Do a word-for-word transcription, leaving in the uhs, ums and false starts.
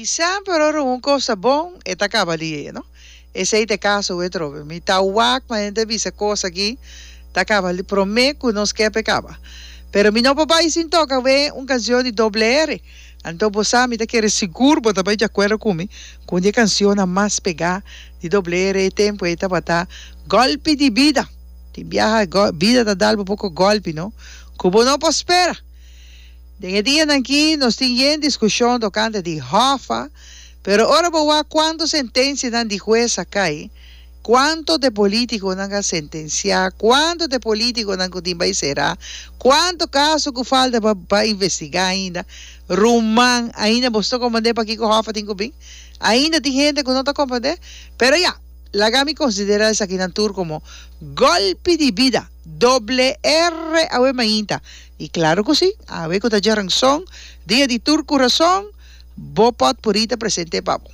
Semper ora un kos ta bon, e ta kaba lihe, no? Esei ta e kaso awe trobe. Mi ta wak ma hende bisa kos aki ta kaba li promé ku nos ke pa e kaba. Pero mi no por bai sin toka awe un kansion di Doble R. Anto bo sa mi ta kere sigur bo ta bai di akuerdo ku mi ku un di e kansionnan mas pegá di Doble R e tempu ei tabata Gòlpi di Bida. Tin biaha bida ta dal bo poko gòlpi no ku bo no por spera. Den e dianan aki nos tin yen diskushon tokante di Hoffa, pero ora bo wak kuantu sentensianan di hues a kai, kuantu de politikonan a sentensiá, kuantu de politikonan ku tin bai será, kuantu kaso ku falta pa pa investigá ainda, ruman, ainda bo ta komprendé pakiko Hoffa tin ku bin? Ainda tin hende ku no ta komprendé? Pero ya, laga mi konsiderá esakinan tur komo gòlpi di bida. Doble R awe mainta. I klaro ku si, awe ku ta djaranson, dia di tur kurason, bo pòtpuri ta present'é pa bo.